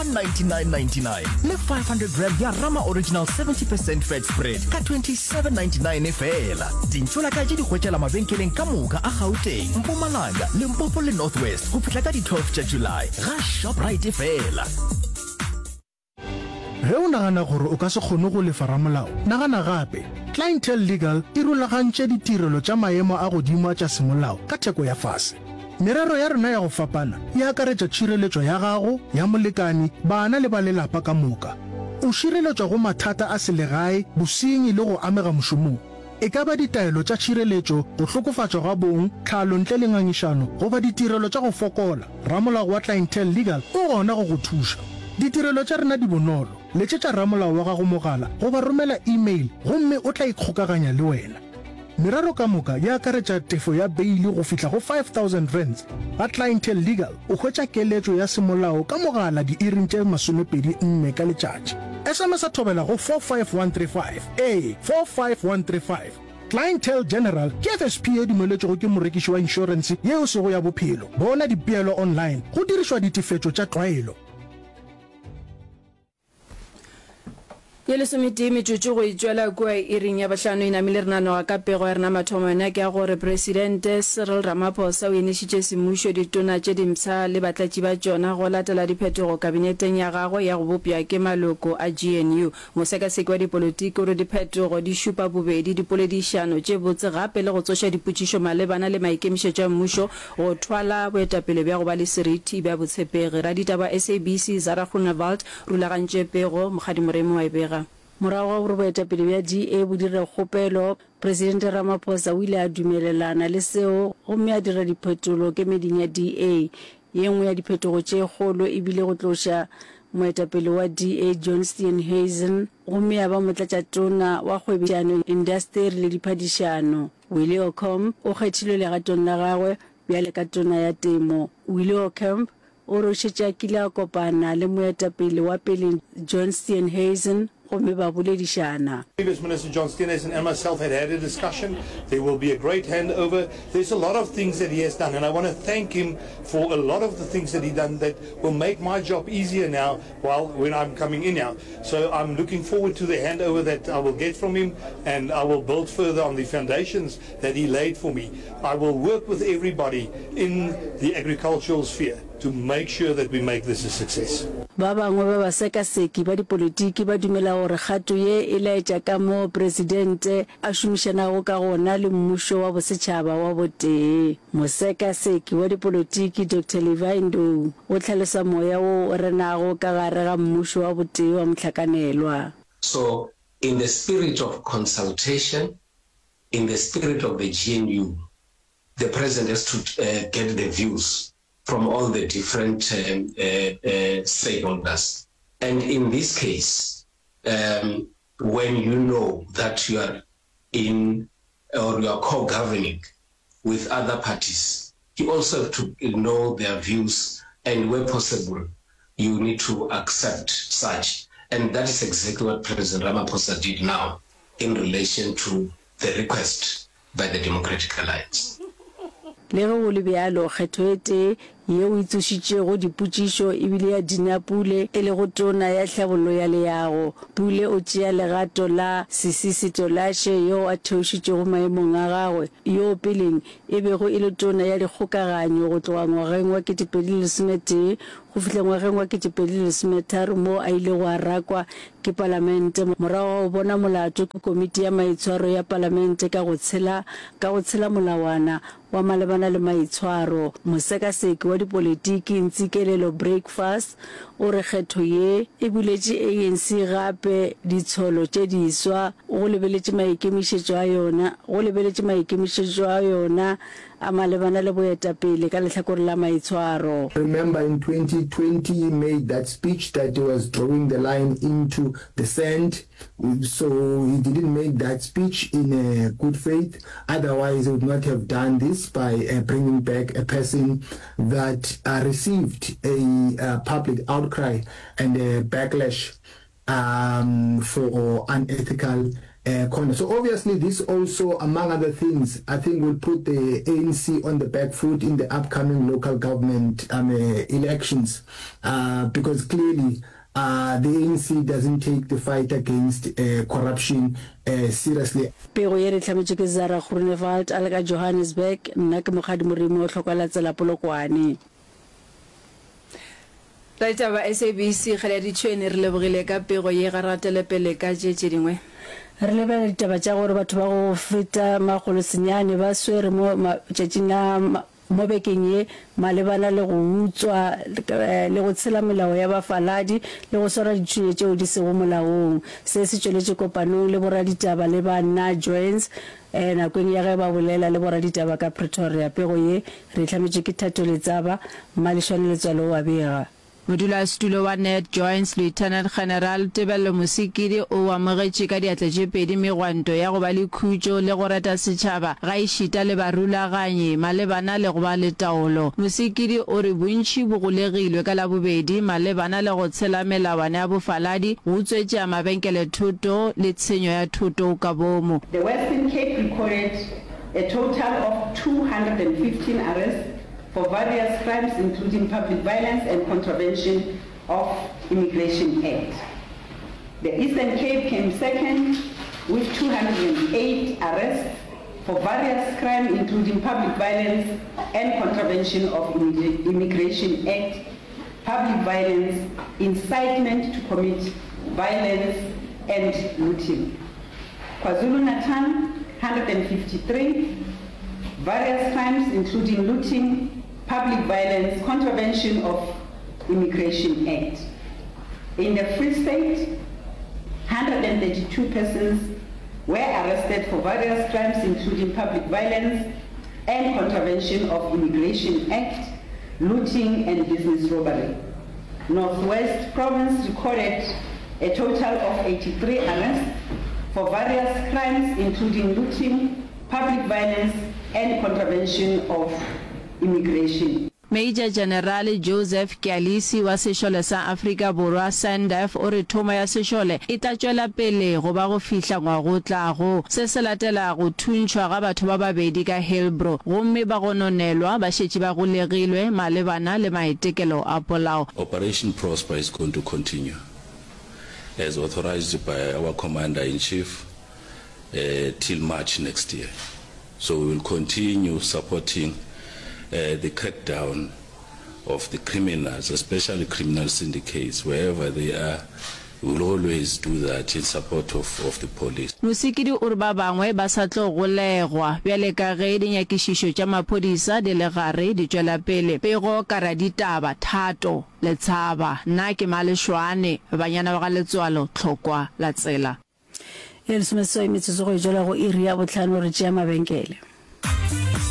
199.99 le 500 gram ya Rama Original 70 percent fat spread ka 27.99 feela. Dintšolaka tše di hwetšala mabenkeleng ka moka a Gauteng, Mpumalanga, Limpopo le North West go fihla ka di 12 tša July ga Shoprite feela. Ge o nagana gore o ka se kgone go lefa ramolao, nagana gape. Clientele Legal e rulagantše ditirelo tša maemo a godimo a tša semolao ka theko ya fase. Merero ya rena ya go fapana e akaretša tšhireletšo ya gago, ya molekani, bana le ba lelapa ka moka. O šireletšwa go mathata a selegae, bosenyi le go amega mošomong. E ka ba ditaelo tša tšhireletšo, go hlokofatšwa ga bong, tlhalo ntle le ngangišano, goba ditirelo tša go fokola, ramolao wa Clientele Legal o gona go go thuša. Ditirelo tša rena di bonolo, letšetša ramolao wa gago mogala goba romela e-mail gomme o tla ikgokaganya le wena. Merero ka moka e akaretša tefo ya beili go fihla go R5000. Ga Clientele Legal o hwetša keletšo ya semolao ka mogala diiring tše 24 ka letšatši. SMS-a thobela go 45135. Ee, 45135. Clientele General ke FSP ye dumeletšwego ke morekiši wa inšorense ye e sego ya bophelo. Bona dipeelo online go dirišwa ditefetšo tša tlwaelo. Ye lesometee metsotso go e tšwela kua iring ya bohlano e namile re nanoga ka pego ya rena mathomo yona ke ya gore Presidente Cyril Ramaphosa o enišitše semmušo ditona tše dimpsha le batlatši ba tšona go latela diphetogo kabineteng ya gagwe ya go bopša ke maloko a GNU. Mosekaseki wa dipolotiki o re diphetogo di šupa bobedi dipoledišano tše botse gape le go tsoša dipotšišo malebana le maikemišetšo a mmušo go thwala boetapele bja go ba le seriti bja botshepegi. Raditaba wa SABC Zara Groenewald rulagantše pego, Mokgadi Moremi wa e bega. Morago ga gore boetapele bja DA bo dire kgopelo, Presidente Ramaphosa o ile a dumelelana le seo gomme a dira diphetolo kemeding ya DA. Ye nngwe ya diphetogo tše kgolo e bile go tloša moetapele wa DA John Steenhuisen gomme ya ba motlatšatona wa kgwebišano, indasteri le diphadišano. Willie Aucamp o kgethilwe legatong la gagwe bjale ka tona ya temo. Willie Aucamp O re o šetše a kile a kopana le moetapele wa peleng John Steenhuisen gomme ba boledišana. Previous Minister John Steenhuisen and myself had had a discussion. There will be a great handover. There's a lot of things that he has done and I want to thank him for a lot of the things that he done that will make my job easier now while when I'm coming in now. So I'm looking forward to the handover that I will get from him and I will build further on the foundations that he laid for me. I will work with everybody in the agricultural sphere to make sure that we make this a success. Ba bangwe ba basekaseki ba dipolitiki ba dumela gore kgato ye e laetša kamoo presidente a šomišanago ka gona le mmušo wa bosetšhaba wa botee. Mosekaseki wa dipolotiki Doctor Levi Ndou o hlalosa moya wo o renago ka gare ga mmušo wa botee wa mohlakanelwa. So in the spirit of consultation, in the spirit of the GNU, the president has to get the views from all the different stakeholders and in this case um when you know that you are in or you are co-governing with other parties you also have to know their views and where possible you need to accept such and that is exactly what President Ramaphosa did now in relation to the request by the Democratic Alliance. Le ge go le bjalo, kgetho e tee yeo e tsošitšego dipotšišo e bile ya Dina Pule, e lego Tona ya Tlhabollo ya Leago. Pule o tšea legato la Sisisi Tolashe yoo a theošitšwego maemong a gagwe, yoo peleng e bego e le Tona ya Dikgokaganyo go tloga ngwageng wa 2011 go fihla ngwageng wa 2013 moo a ilego a rakwa ke Palamente morago ga go bona molato ke Komiti ya Maitshwaro ya Palamente ka go tshela ka go tshela molawana wa malebana le maitshwaro. Mosekaseki wa dipolitiki Ntsikelelo Breakfast o re kgetho ye e buletše ANC gape ditsholo tše diswa go lebeletše maikemišetšo a yona go lebeletše maikemišetšo a yona a malebana le boetapele ka lehlakore la maitshwaro. Remember in 2020 he made that speech that he was drawing the line into the sand so he didn't make that speech in a good faith otherwise he would not have done this by bringing back a person that received a public outcry and a backlash um for unethical. uh, corner. So obviously this also, among other things, I think will put the ANC on the back foot in the upcoming local government um, uh, elections uh, because clearly uh, the ANC doesn't take the fight against uh, corruption uh, seriously. Pego ye re hlametšwe ke Zara Groenewald a le ka Johannesburg, nna ke Mokgadi Moremi o hloka tsela Polokwane. Raditaba SABC Kgale ya Ditšhwene re lebogile ka pego ye ga re gatele pele ka tše tše dingwe. Re lebelela ditaba tša gore batho ba go feta makgolosenyane ba swere mo matšatšing a mo bekeng ye malebana le go utswa le go tshela melao ya bafaladi le go swara dithunya tšeo di sego molaong. Se se tšweletše kopanong le boraditaba le ba Na Joins nakong ya ge ba bolela le boraditaba ka Pretoria. Pego ye re e hlametšwe ke Thato Letsaba, Mmalešwane Letswalo o a bega. Modulasetulo wa Ned Joins, Lieutenant General Tebello Mosikidi o amogetše ka diatla tše pedi megwanto ya go ba le khutšo le go reta setšhaba gaešita le barulaganyi malebana le go ba le taolo. Mosikidi o re bontši bo golegilwe ka Labobedi malebana le go tshela melawana ya bofaladi, go utswetša mabenkele thoto le tshenyo ya thoto ka boomo. The Western Cape recorded a total of 215 arrests for various crimes including public violence and contravention of Immigration Act. The Eastern Cape came second with 208 arrests for various crime including public violence and contravention of Immigration Act, public violence, incitement to commit violence and looting. KwaZulu-Natal, 153, various crimes including looting, public violence, contravention of Immigration Act. In the Free State, 132 persons were arrested for various crimes including public violence and contravention of Immigration Act, looting and business robbery. Northwest Province recorded a total of 83 arrests for various crimes including looting, public violence and contravention of immigration. Major General Joseph Kyalisi wa Sešole sa Afrika Borwa, SANDF, o re thomo ya sešole e tla tšwela pele go ba go fihla ngwaga o tlago. Se se latela go thuntšhwa ga batho ba babedi ka Hillbrow gomme ba gononelwa ba šetše ba golegilwe malebana le maitekelo a polao. Operation Prosper is going to continue as authorized by our Commander-in-Chief till March next year. So we will continue supporting the crackdown of the criminals, especially criminal syndicates, wherever they are, we will always do that in support of, of the police. Mosikidi o re ba bangwe ba sa tlo golegwa bjale ka ge dinyakišišo tša maphodisa di le gare di tšwela pele. Pego ka raditaba, Thato Letshaba, Nna ke Malešwane, banyana ba ga Letswalo, Tlhokwa la tsela. E lesomeseswai metsotso go e tšwela go iri ya bohlano re tšea mabenkele.